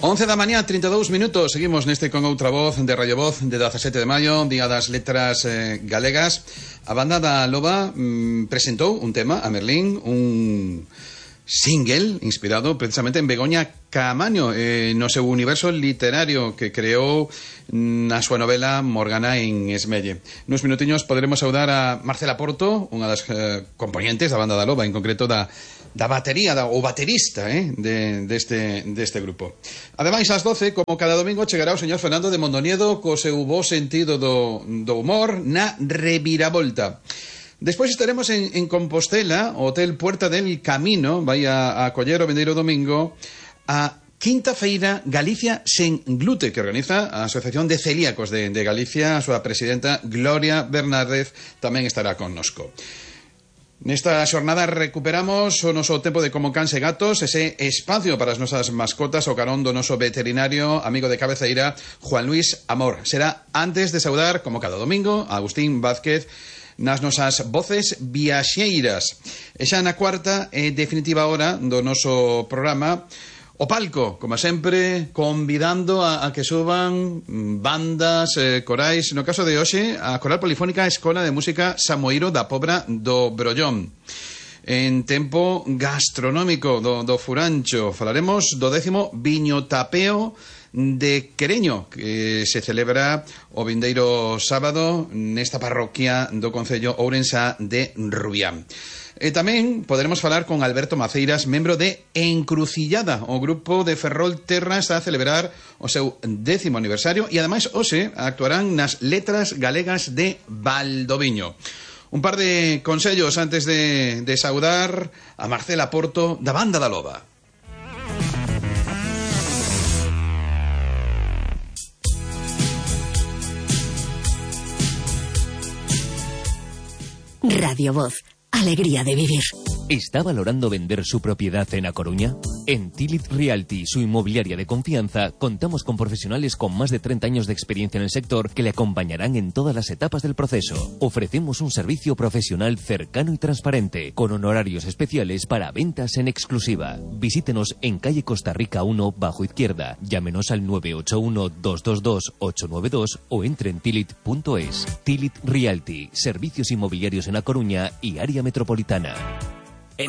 11 da mañá, 32 minutos. Seguimos neste con outra voz de Radio Voz de 17 de maio, Día das Letras Galegas. A banda da Loba presentou un tema a Merlín, un single inspirado precisamente en Begoña Caamaño, no seu universo literario que creou na súa novela Morgana en Esmelle. Nuns minutiños poderemos saudar a Marcela Porto, unha das componentes da banda da Loba, en concreto da batería, o baterista deste grupo. Ademais, ás 12, como cada domingo, chegará o señor Fernando de Mondoniedo co seu bo sentido do humor na reviravolta. Despois estaremos en Compostela, o Hotel Puerta del Camino vai a acoller o vindeiro domingo a Quinta Feira Galicia sen glute, que organiza a Asociación de Celíacos de Galicia. A súa presidenta Gloria Bernárdez tamén estará connosco. Nesta xornada recuperamos o noso tempo de Como Cans e Gatos, ese espacio para as nosas mascotas, o carón do noso veterinario amigo de cabeceira, Juan Luis Amor. Será antes de saudar, como cada domingo, a Agustín Vázquez nas nosas voces viaxeiras. E xa na cuarta e definitiva hora do noso programa, o palco, como sempre, convidando a que suban bandas, corais. No caso de hoxe, a Coral Polifónica Escola de Música Samoiro da Pobra do Brollón. En tempo gastronómico do Furancho, falaremos do 10º Viño Tapeo de Quereño, que se celebra o vindeiro sábado nesta parroquia do concello ourensá de Rubián. E tamén poderemos falar con Alberto Maceiras, membro de Encrucillada. O grupo de Ferrol Terra está a celebrar o seu 10º aniversario e ademais hoxe actuarán nas Letras Galegas de Valdoviño. Un par de consellos antes de saudar a Marcela Porto da banda da Loba. Radio Voz. Alegría de vivir. ¿Está valorando vender su propiedad en A Coruña? En Tilit Realty, su inmobiliaria de confianza, contamos con profesionales con más de 30 años de experiencia en el sector que le acompañarán en todas las etapas del proceso. Ofrecemos un servicio profesional cercano y transparente, con honorarios especiales para ventas en exclusiva. Visítenos en calle Costa Rica 1, bajo izquierda. Llámenos al 981-222-892 o entre en tilit.es. Tilit Realty, servicios inmobiliarios en A Coruña y área metropolitana.